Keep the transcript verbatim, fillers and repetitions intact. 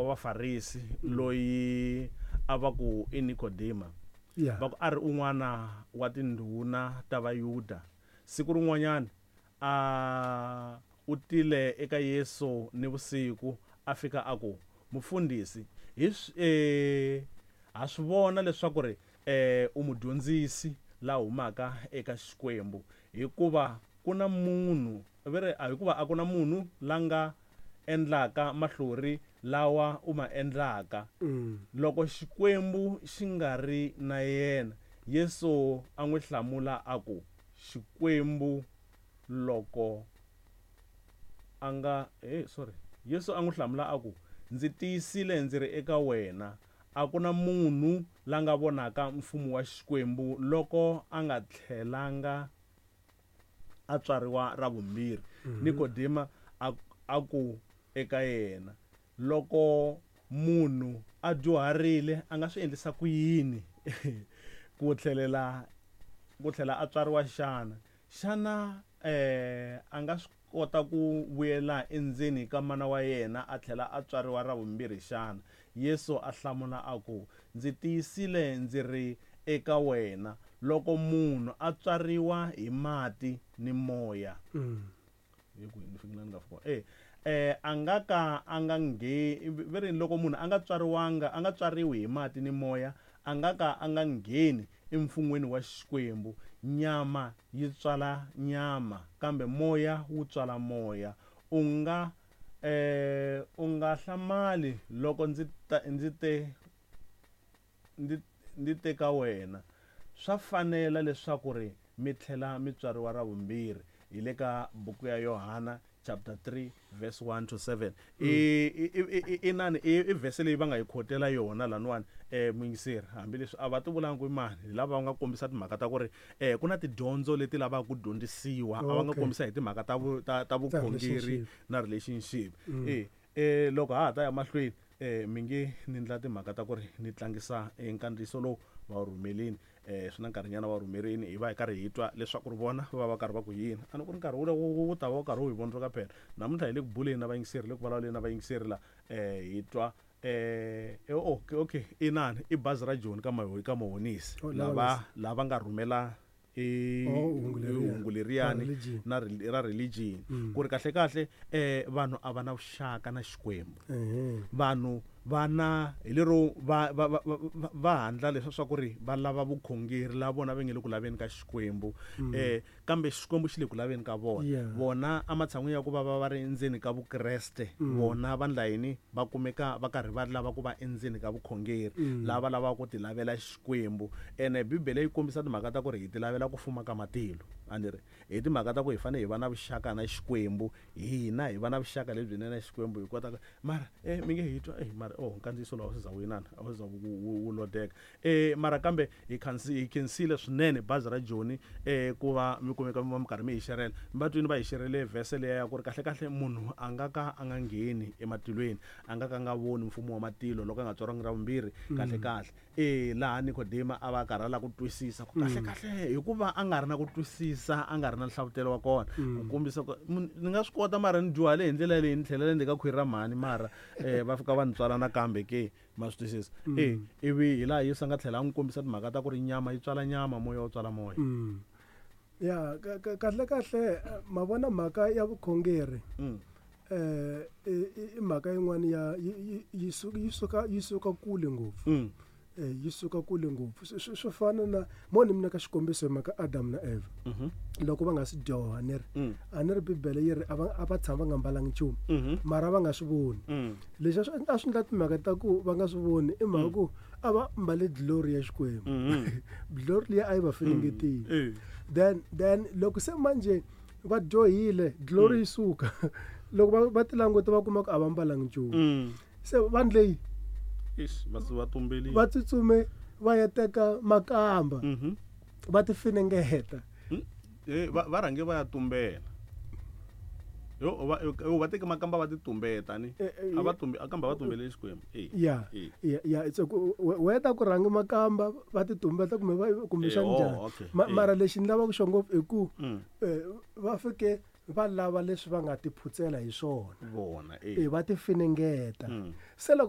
Vafarisi loyi a va ku i Nikodema. Yeah. Va ku a ri un'wana wa tindhuna ta Vayuda. Siku rin'wanyana a u tile eka Yesu ni vusiku a fika a ku, "Mufundhisi, hi swi eh ha swi vona leswaku ri eh u mudyondzisi la humaka eka Xikwembu, hikuva ku na munhu vere hikuva a ku na munhu la nga endlaka mahlori lawa u ma endlaka Mm. loko Xikwembu xi nga ri na yena." Yesu a n'wi hlamula a ku, "Xikwembu loko a nga eh sorry Yesu a n'wi hlamula a ku, "Ndzi tiyisile ndzi ri eka wena, a ku na munhu la nga vonaka mfumo wa Xikwembu loko a nga tlhelanga a tswariwa ra vumbirhi." Nikodema a a ku eka yena, "Loko munhu a dyuharile a nga swi endlisa ku yini ku tlhelela ku tlhela a tswariwa xana? Xana eh a nga swi kota ku vuyela endzeni ka mana wa yena a tlhela a tswariwa ra vumbirhi xana?" Yesu a hlamula a ku, "Ndzi tiyisile ndzi ri eka wena, loko munhu a tswariwa hi mati ni moya," Mm. hi ku ni fikile ni nga fika eh eh a nga ka a nga nge ve ri loko munhu a nga tswariwanga a nga tswariwi hi mati ni moya, a nga ka a nga ngheni emfun'weni wa Xikwembu. Nyama yi tswala nyama, kambe moya wu tswala moya. U nga eh u nga hlamali loko ndzi ta ndzi te ndzi ndzi te ka wena, swa fanela leswaku ri mi tlhela mi tswariwa ra vumbirhi. Hi le ka buku ya Yohana chapter three verse one to seven. I i i i nani i i verse leyi va nga yi khotela yona laniwani, eh muyingiseri, hambileswi a va ti vulanga ku i mani, hi lava va nga kombisa timhaka ta ku ri eh ku na tidyondzo leti lavaka ku dyondzisiwa, a va nga Okay. kombisa hi timhaka ta vu ta ta vukhongeri relationship. na relationship. Eh eh loko ha ha ta ya mahlweni, eh mi nge ni ndla timhaka ta ku ri ni tlangisa nkandziyiso lowu va wu rhumelini, eh swi na nkarhinyana va wu rhumerini, hi va hi karhi hi twa leswaku ri vona va va karhi va ku yini. A ni ku ri nkarhi wu wu ta va wu karhi wu hi vondzoka phela. Namuntlha hi le ku buleni na vayingiseri, le ku vulavuleni na vayingiseri la, eh hi twa eh okay okay inani i bazi ra Joni ka Maho ka Mahonisi, Oh, lava lava lava nga rhumela i Oh, hungu leriya. hungu leriyani Ra religion. na rel- ra religion, Mm. ku ri kahle kahle eh vanhu a va na vuxaka na Xikwembu. Ehe. Vanhu va na hi lero va va va va- va handla leswa swa ku ri va lava vukhongeri la vona va nge le ku laveni ka Xikwembu, eh kambe Xikwembu xi le ku laveni ka vona. Yeah. Vona ematshan'wini ya ku va va va ri endzeni ka Vukreste, vona va ndla yini? Va kumeka va karhi va lava ku va endzeni ka vukhongeri, lava lavaka ku ti lavela Xikwembu. Ene Bibele yi kombisa timhaka ta ku ri hi ti lavela ku fuma ka matilo, a ni ri hi timhaka ta ku hi fanele hi va na vuxaka na Xikwembu, hina hi va na vuxaka lebyinene na Xikwembu hi kota ku mara eh mi nge hi twa eh mara oh nkandziyiso lowu a wu se za wu inana, a wu se za wu wu- wu lodeka. eh mara kambe hi khansi hi khensile swinene bazi ra Joni eh ku va mi kumeka mi va mi karhi mi hi xerela. Mi va twini va hi xerele verse leya ya ku ri kahle kahle munhu a nga ka a nga ngheni ematilweni, a nga ka a nga voni mfumo wa matilo loko a nga tswariwangi ra vumbirhi. Kahle kahle eh laha Nikodema a va karhi a lava ku twisisa ku kahle kahle, hikuva a nga ri na ku twisisa, a nga ri na nhlavutelo wa kona ku kombisa ku mun- ni nga swi kota mara ni dyuhale hi ndlela leyi, ni tlhelela ndzeni ka khwiri ra mhani, mara eh va fika va ni tswala nakambe ke, ma swi twisisa. Eh ivi hi laha Yesu a nga tlhela a n'wi kombisa timhaka ta ku ri nyama yi tswala nyama, moya wu tswala moya. Mm. Ya ka- ka- kahle kahle eh, ma vona mhaka ya vukhongeri, Mm. eh i i- i mhaka yin'wana ya yi yi- yi su- yi suka yi suka kule ngopfu. Mm. Eh yi suka kule ngopfu. Swi- swi swi fana na mo ni mina ka xikombiso hi mhaka Adam na Eva. Mhm. Loko va nga si dyoha, ni ri Mm. a ni ri Bibele yi ri a va a va tshama va nga mbalangi nchumu, Mhm. mara va nga swi voni. Mm. Leswi a swi a swi endla timhaka ta ku va nga swi voni i mhaka ku a va mbale glory ya Xikwembu. Mhm. Glory liya a yi va finengetile. Eh. Then then loko se manje va dyohile, glory yi suka. Loko va va ti languta va kuma ku a va mbalangi nchumu. Mm. Se vanhu leyi Ish, va va tumbelile. va tsutsume va ya teka makamba, Mhm. va ti finengeta. Mm. Eh va va rhange va ya tumbela. Yo va yo va teke makamba va ti tumbeta ni. Eh, eh, A va tumbe akamba va tumbele Xikwembu. Eh. Ya. Eh. Ya, ya, it's ku weta ku rhanga makamba va ti tumbeta kumbe va kumbe Eh, xa oh, njhani. okay. Ma- Eh. Mara lexi ni lavaka xo ngopfu i ku Mm. eh, va fike va lava leswi va nga ti phutsela hi swona. Vona eh. Eh va ti finengeta. Mm. Se loko